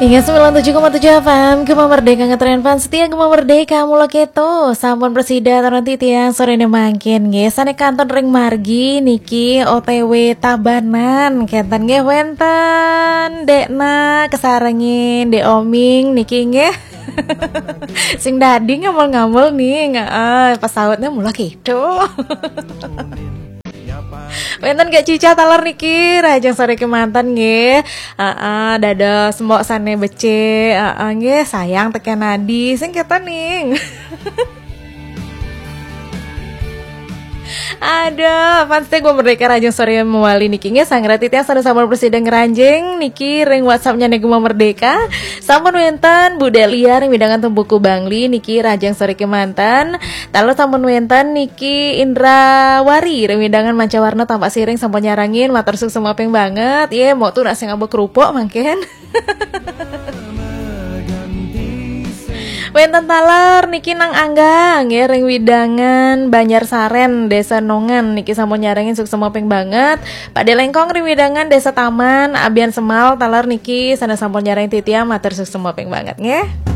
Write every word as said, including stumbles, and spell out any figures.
Ingat sembilan tujuh koma tujuh F M, Gema Merdeka ngetren fans setia Gema Merdeka mula keto. Sampun presida taran titiang sorene mangkin nggih. Sane kantun ring margi niki O T W Tabanan. Kenten nggih wenten Dekna kesarengin Dek Oming niki nggih. Sing dadi ngamul-ngamul nih, heeh, pesautnya mula keto. Wenten Kak Cica taler niki, rahajeng sore kemanten nggih. Heeh, dados mbok sane becik, heeh nggih, sayang teken adi, sing keten ning. Ada, fans Gema Merdeka rahajeng sore mewali niki nggih, sangrati tiang sane sampun presida ngranjing niki ring WhatsApp-nya Gema Merdeka. Sampun wenten Bu Delia ring wewidangan Tumpuku Bangli niki rahajeng sore kemanten. Taler sampun wenten niki Indra Wari ring wewidangan Mancawarna Tampak Siring sampun nyarengin, matur suksma ping banget. Ye, mok tu nak sing abo kerupuk mangkin. Wenten taler niki Nang Angga nggih ring wewidangan Banjar Saren, Desa Nongan niki sampun nyarengin suksma ping banget. Pak Delengkong ring wewidangan Desa Taman, Abian Semal taler niki sane sampun nyarengin titiang, matur suksma ping banget nggih.